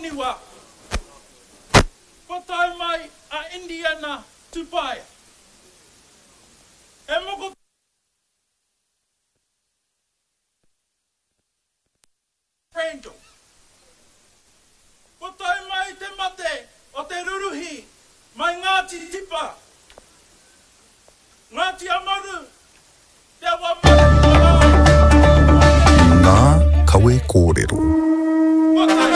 Ōniwa, kua tae mai a Indiana Tupaia. E moko. Randall. Kua tae mai te mate o te ruruhi mai Ngāti Tipa, Ngāti Amaru, Te Awa Maruhi Marae, Ngā kawe kōrero. Kua tae.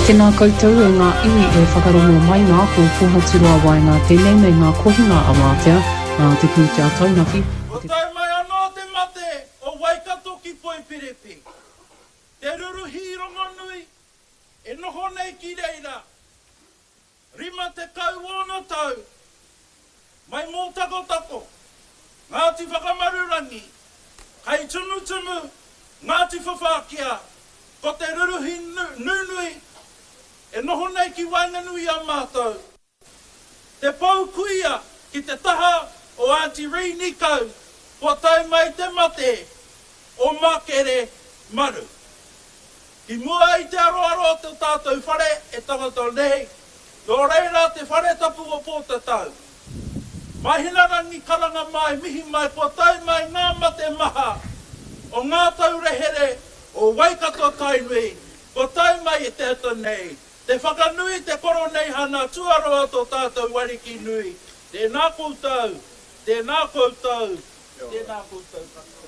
Tēnā koutou e ngā iwi e whakarongo mai nā, ko Pohaturoa Waenga tēnei me ngā kohinga a Wātea, nā te pūtea taunaki a Kua te. tae mai anō te mate o Waikato ki Poipirepi, te ruruhi rongonui e noho nei ki reira, 50 ōna tau, mai Mōtakotako, Ngāti Whakamarurangi, Kaitumutumu, Ngāti Whawhākia, ko te ruruhi nunui e noho nei ki waenganui i a mātou. Te pou kuia ki te taha o Aunty Ree Nikau kua tae mai te mate o Makere Maru. Ki mua i te aroaro o to tātou whare e tangata nei, nō reira te whare tapu o Pōtatau. Mahinarangi karanga mai mihi mai kua tae mai ngā mate maha o ngā taurehere o Waikato Tainui kua tae mai i te ata nei. Te whakanui te Koroneihana tuaroa tō tātou Ariki nui. Tēnā koutou, tēnā koutou, tēnā koutou katoa.